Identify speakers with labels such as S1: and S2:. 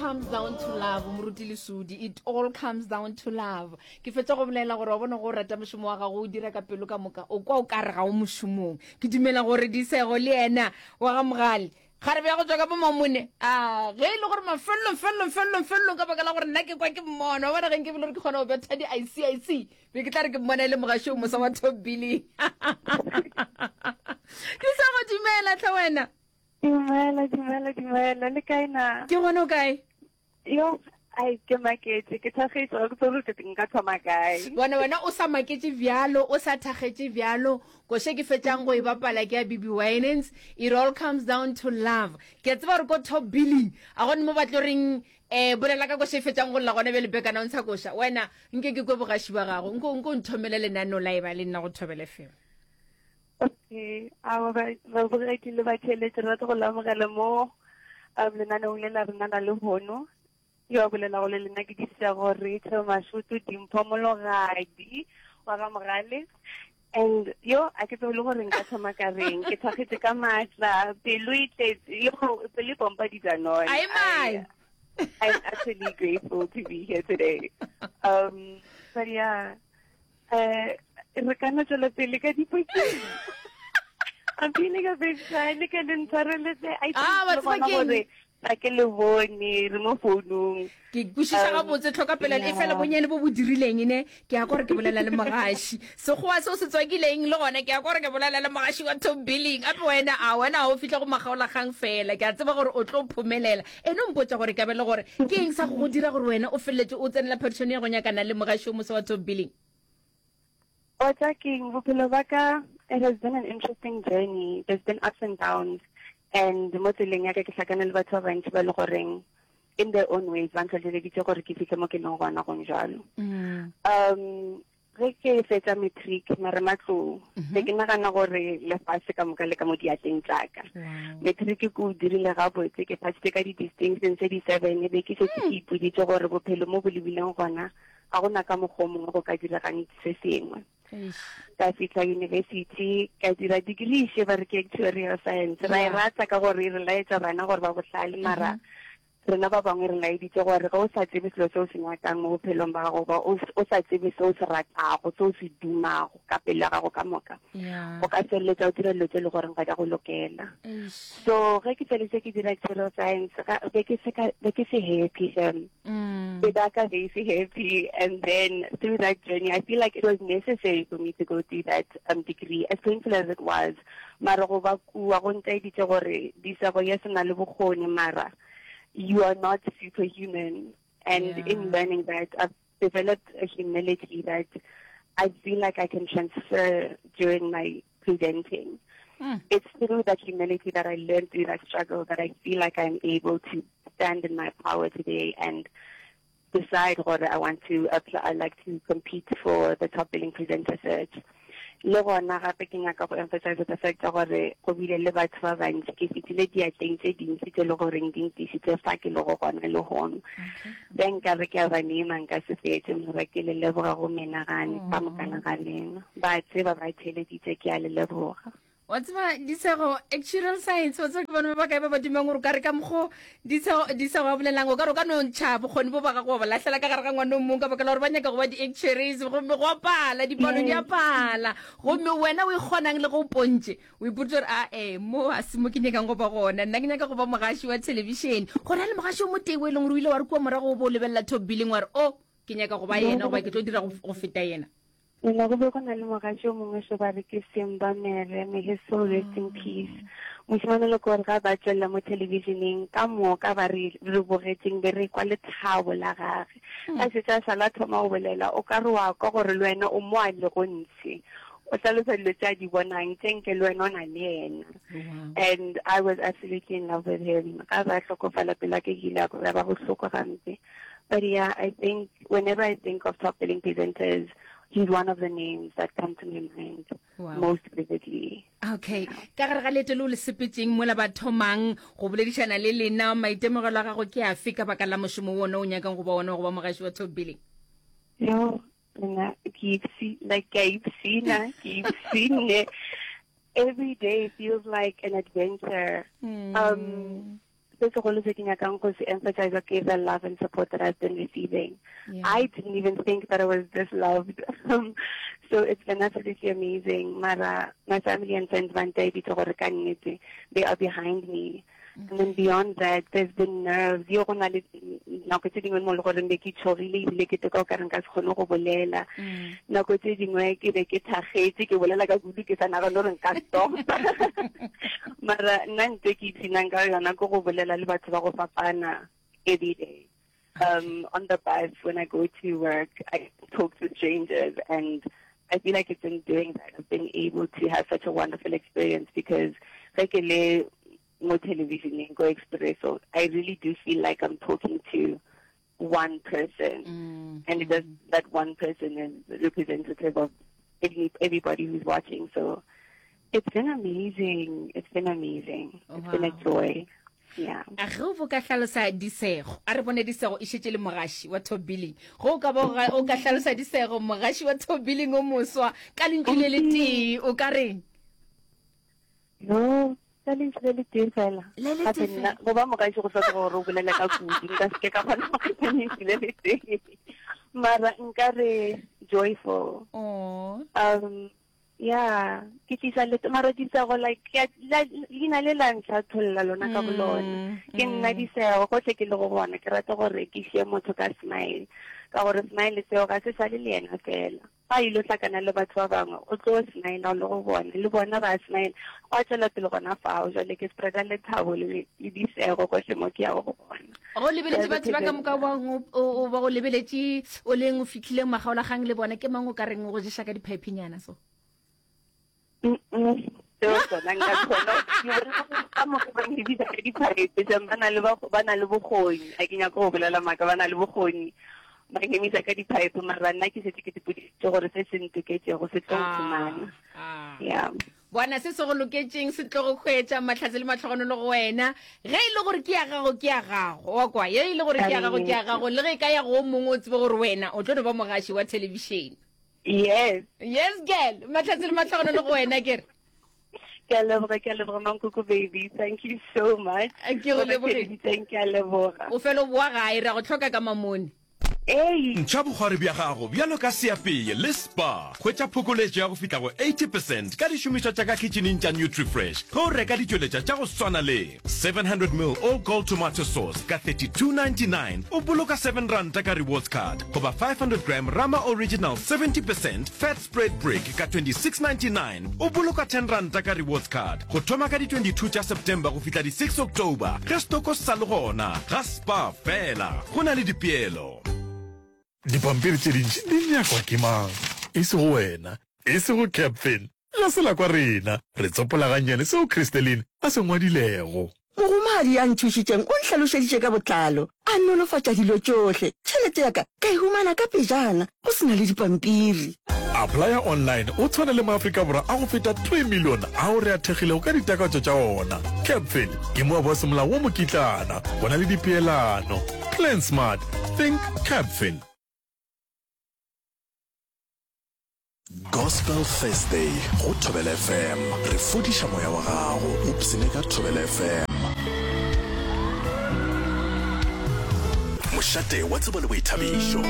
S1: Comes down to love, Moruti Lesodi. It all comes down to love. Ke fetša go bolela gore wa bona go rata mošomo wa gago o dira ka pelo ka moka, o kwa o ka re ga o mošomong. Ke dumela gore Disego le yena wa ga Mogale kgarebe ya go tšwa ka bo Mamone, a ge e le gore mafelelong felelong felelong felelong ka baka la gore nna ke kwa ke mmona, wa bona ge nke bile gore ke kgona go betha di ICIC, be ke tla re ke mmona e le mogaši o mosa wa Top Billing. Disego, dumela tlhe wena.
S2: Dumela, dumela, dumela. Le kae na?
S1: Ke gone o kae?
S2: Yo, ai ke maketše, ke thakgetše, ga ke tsebe gore nka thoma kae.
S1: Bona wena o sa maketše bjalo, o sa thakgetše bjalo, koše ke fetšang go e bapala ke ya BB Winans, it all comes down to love. Ke a tseba gore ko top billing, a gone mo ba tlo reng eh bolela ka koše e fetšang go lla gona bjale back announcer koša. Wena nke ke kwe bogaši ba gago, nko nko nthomele lenaneo la e ba le nna go Thobela FM.
S2: Okay, a babogedi le batheeletši re rata go le amogela mo um lenaneong le la rena la lehono. Yo a bolelago le lena ke Disego Rachel Mashutu Dimpho Mologadi wa ga Mogale. And yo a ke tsebe le gore nka thoma ka reng, ke thakgetše ka maatla, pelo e tletse, yo pelo e pompa dijanone.
S1: Ai mai.
S2: I'm actually grateful to be here today. Um, but yeah, Eh, re ka no tswela pele ka dipotšišo. I'm feeling a bit shy, le ke le ntshwareletse. I think
S1: Ah, wa
S2: le
S1: tseba
S2: bona
S1: keng?
S2: gore ga ke le bone, re mo founung.
S1: Ke kwešiša
S2: Um,
S1: gabotse tlhokapelelo e fela
S2: yeah.
S1: bonyane bo bo dirileng ne ke ya gore ke bolela le mogaši sekgowa seo se tswakileng le gona ke ya gore ke bolela le mogaši wa top billing ape wena a wena ga o fihla go makgaolakgang fela ke a tseba gore o tlo phomelela ene o mpotša gore ka be le gore ke eng sa go go dira gore wena o feleletše o tsenela phadišano ya go nyakana le mogaši o mosa wa top billing
S2: Wa tsa keng, bophelo ba ka, it has been an interesting journey. There's been ups and downs. And mo tseleng ya ka ke hlakane le batho ba bantši ba le goreng in their own ways ba ntlhohleleditše gore ke fihle mo ke leng gona gong jalo. Um, ge ke fetša matric marematlou, be ke nagana gore lefase ka moka le ka mo diatleng tša ka. Matric ke o dirile gabotse, ke phasitše ka di-distinction tse di-seven, be ke šetše ke ipoditše gore bophelo mo bo lebileng gona ga gona ka mokgwa o mongwe go ka diregang se sengwe. Ka fihla university ka dira degree še ba re ke actuarial science. Ra e rata ka gore e re laetša bana gore ba bohlale, mara rena ba bangwe re laeditše gore ge o sa tsebe selo se o se nyakang mo bophelong ba gago, goba o sa tsebe se o se ratago, se o se dumago ka pelo ya gago ka moka, o ka feleletša o dira dilo tše e le goreng ga di a go lokela. So ge ke feleditše ke dira actuarial science, be ke se ka, be ke se happy shem. Be ba ka be se happy, and then through that journey I feel like it was necessary for me to go through that degree, as painful as it was. Mara go ba kua go ntaeditše gore Disego yes o na le bokgoni, mara you are not superhuman. And in learning that, I've developed a humility that I feel like I can transfer during my presenting. It's through that humility that I learned through that struggle that I feel like I'm able to stand in my power today and decide whether I want to apply, I like to compete for the top billing presenter search. Le gona gape ke nyaka go emphasize the fact ya gore go bile le batho ba bantši, ke fetile diatleng tše dintši tše le goreng di ntišitše fa ke lego gona lehono. Be nka re ke a ba nema nka se fetše, mara ke le leboga go menagane ka mokana ga lena. Ba tseba ba theeleditše, ke a le leboga.
S1: Wa tseba, Disego, actuarial science, wa tseba ke bana ba bakae ba ba dumang gore o ka re ka mokgo Disego, Disego a bolelang, o ka re o ka no ntšha bokgoni bo ba gago wa bo lahlela ka gare ga ngwana o mongwe ka baka la gore ba nyaka go ba di-actuaries, gomme go a pala, dipalo di a pala. Gomme wena o ikgonang le ge o pontše, o ipotša gore a e, mo a se mo ke nyakang go ba gona, nna ke nyaka go ba mogaši wa thelebišene. Go na le mogaši o motee o e leng gore o ile wa re kua morago o bo o lebelela Top Billing wa re, o, ke nyaka go ba yena goba ke tlo dira go feta yena.
S2: Nna go be go na le mogatši o mongwe xo ba re ke Simba Mere, may his soul rest in peace. Mošemane le gore ga ba tšwelela mo thelebišeneng ka moka ba re re bogetšeng be re kwa lethabo la gage. Ga šetše a šala a thoma go bolela o ka re wa kwa gore le wena o mo a lego ntshe. O hlalosa dilo tše a di bonang tše nke le wena o na le yena. And I was absolutely in love with him. Ga ba hlokofala pelo ya ka e ile ya ba bohloko gampe. But yeah, I think whenever I think of top billing presenters, he's one of the names that come to my mind
S1: wow.
S2: most vividly.
S1: Okay. Ka gare ga leeto le o le sepetseng mola ba thomang go boledišana le lena, maitemogelo a gago ke afe ka baka la mošomo wona o nyakang go ba wona wa go ba mogaši wa top billing?
S2: Yo, nna ke ipsi like ke a ipsina, ke ipsine. Every day feels like an adventure. Se segolo se ke nyakang go se emphasize ke the love and support that I've been receiving. Yeah. I didn't even think that I was this loved. so it's been absolutely amazing. Mara, my family and friends ba ntaeditse gore ka nnete they are behind me. And then beyond that, there's been nerves. Yo go na le nako tse dingwe mo le goreng be ke tshogile ebile ke teka o ka reng ka se kgone go bolela. Mm. Nako tse dingwe ke be ke thagetse ke bolela ka kudu ke sa nagane gore nka stop. Mara nna ntse ke ipshinang ka yona ke go bolela le batho ba go fapana every day. Um, on the bus when I go to work, I talk to strangers and I feel like it's in doing that I've been able to have such a wonderful experience because ge ke le mo televisioneng ko Expresso, I really do feel like I'm talking to one person. Mm. And it does, that one person is representative of every, everybody who's watching. So it's been amazing. It's been amazing. Oh, it's wow. been a joy. Yeah.
S1: A ge o bo ka hlalosa disego a re bone disego e šetše le mogaši wa top billing ge o ka bo o ka hlalosa disego mogaši wa top billing o moswa ka lentšu le le tee o ka reng
S2: No, ka lentšu le le tee fela.
S1: Le le tee fela.
S2: Go ba mogaši go hloka gore o bolele ka kudu. Nka se ke ka kgona go kgetha lentšu le le tee. Mara nka re joyful.
S1: Oh.
S2: Um, yeah, ke tlisa le mara disego like leina le la ntlhatholla lona ka bolona. Mm, ke nna mm. disego gotlhe ke le go bona ke rata gore ke šie motho ka smile ka gore smile seo ga se sale le yena fela. Fa a ilo hlakana le batho ba bangwe, o tlo smile le go bona, le bona ba smile. Gwa tšwela pele gona fao, jwale ke spreada lethabo le le disego gohle mo ke yago go gona.
S1: Go lebeletše batho ba ka moka ba o ba go lebeletše o leng o fihlileng makgaolakgang le bona, ke mang o ka reng o go ješa ka diphephenyana so?
S2: Seo sona nka kgona ka mokgwa ba nkebitsa ka diphaete jang ba na le ba na le bokgoni a ke nyaka go bolela maaka ba na le bokgoni ba nkemisa ka diphaepe mara nna ke setse ke tipoditse gore se se ntoketšego se tlo nkhumana ah, ah. ya
S1: bona se se go loketšeng se tlo go hwetša mahlatse le matlhogonolo go wena ge e le gore ke ya gago ke ya gago wa kwa ye e le gore ke ya gago ke ya gago le ge e ka ya go mongwe o tsebe gore wena o tlo no ba mogaši wa thelebišene
S2: Yes.
S1: Yes, girl. Mahlatse le mahlogonolo go wena ke re.
S2: Ke a leboga, ke a leboga Mankoko baby. Thank you so much.
S1: Ke go lebogile.
S2: Thank you, a leboga.
S1: O fela o boa gae ra go tlhoka ka mamone.
S2: Ei.
S3: Ntšha bokgwari bja gago bjalo ka seapeye le Spar. Hwetša phokoletšo ya go fihla go 80 percent ka dišomišwa tša ka khitšhining tša Nutrifresh ge o reka ditšweletša tša go swana le 700 ml All Gold Tomato Sauce ka 32.99 o boloka 7 ranta ka rewards card goba 500 gram Rama Original 70 percent Fat Spread Brick ka 26.99 o boloka 10 ranta ka rewards card go thoma ka di 22 tša September go fihla di 6 October ge stoko se sa le gona ga Spar fela go na le dipeelo.
S4: Dipampiri tše dintši di nyakwa ke mang? E sego wena, e sego Captain. Ga se la kwa rena. Re tsopola gannyane seo Christeline a se ngwadilego.
S5: Mogomadi ya nthušitšeng o nhlalošeditše ka botlalo, a nolofatša dilo tšohle. Tšhelete ya ka ka e humana ka pejana, go se na le dipampiri.
S4: Applya online o tshwane le maAfrika Borwa a go feta 3 milione ao re a thekgilego ka ditakatšo tša ona. Capfin ke moabi wa semolao wa mokitlana. Go na le dipeelano. Plan smart. Think Capfin.
S6: Gospel Thursday go Thobela FM. Re fodiša moya wa gago. Ipshine ka Thobela FM. Mošate wa tsebo le boithabišo.